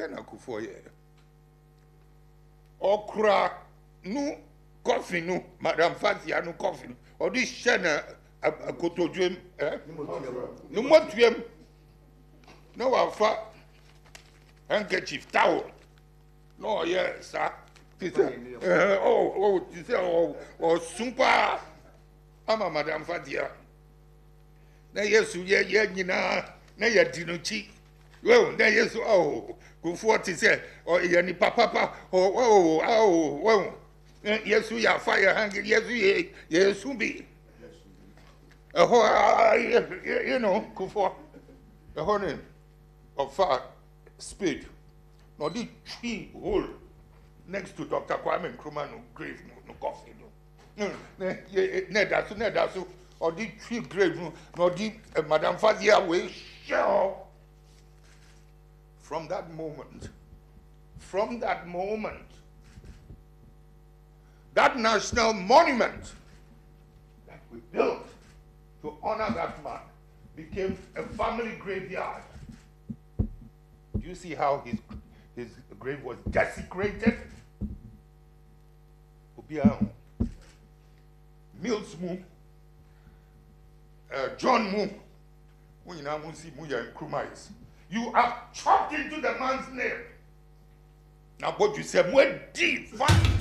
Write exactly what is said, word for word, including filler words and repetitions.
Deɛ na Kufuor yɛ, ɔkura no coffin no, Madam Fathia no coffin, ɔde hyɛ na akotodwem ɛ ne mmɔtuam na wafa handkerchief, towel, na ɔyɛ saa te sɛ ɛɛ ɔ ɔ te sɛ ɔ ɔsun paa ama Madam Fathia. Na Yesu yɛ yɛ nyinaa na yɛ di n'akyi wɔn na Yesu ɔɔ Kufuor te sɛ ɔyɛ nipa papa ɔ ɔ ɔ wɔn Yesu yɛ afa yɛ hangi, Yesu yɛ Yesu bi ɛhɔ aa yɛ you know Kufuor ɛhɔ ne ɔfa spade na ɔde twi hole next to Doctor Kwame Nkrumah no grave no no coffin no na na ɛda so na ɛda so ɔde twi grave no na ɔde Madam Fathia wei hyɛ hɔ. From that moment, from that moment, that national monument that we built to honor that man became a family graveyard. Do you see how his, his grave was desecrated? Obiara ho. Mills mu, uh, John mu, mo nyinaa mo si mo yɛ Nkrumahs. You have chopped into the man's name. Now, what you said, mo di fa.